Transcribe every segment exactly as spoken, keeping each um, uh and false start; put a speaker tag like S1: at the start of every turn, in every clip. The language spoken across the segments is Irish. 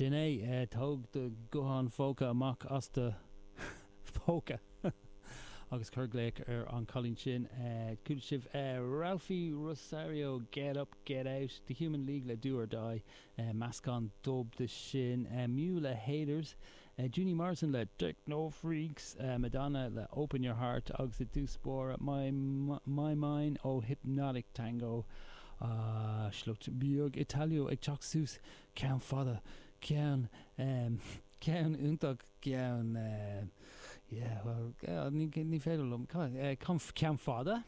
S1: Sin é, tóg do ghuthán phóca amach as do phóca agus cuir glaoch ar an chailín sin. Chuala sibh Ralphie Rosario, Get Up, Get Out, The Human League le Do or Die, meascán dub de sin, Mew le Haters, Junie Morrison le Techno Freaks, Madonna le Open Your Heart agus i dtús báire My My Mine ó Hypnotic Tango. Sliocht beag Italo ag teacht suas, ceann fada, ceann ceann iontach, ceann yeah well ní ní féidir liom ceann fada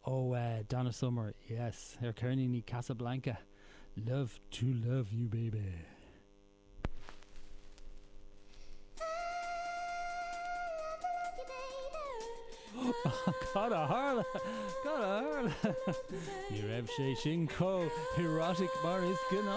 S1: ó Donna Summer, yes, ar cheirníní Casablanca, Love to Love You Baby. Cad a tharla? Cad a tharla? Ní raibh sé sin chomh erotic mar is gnáth.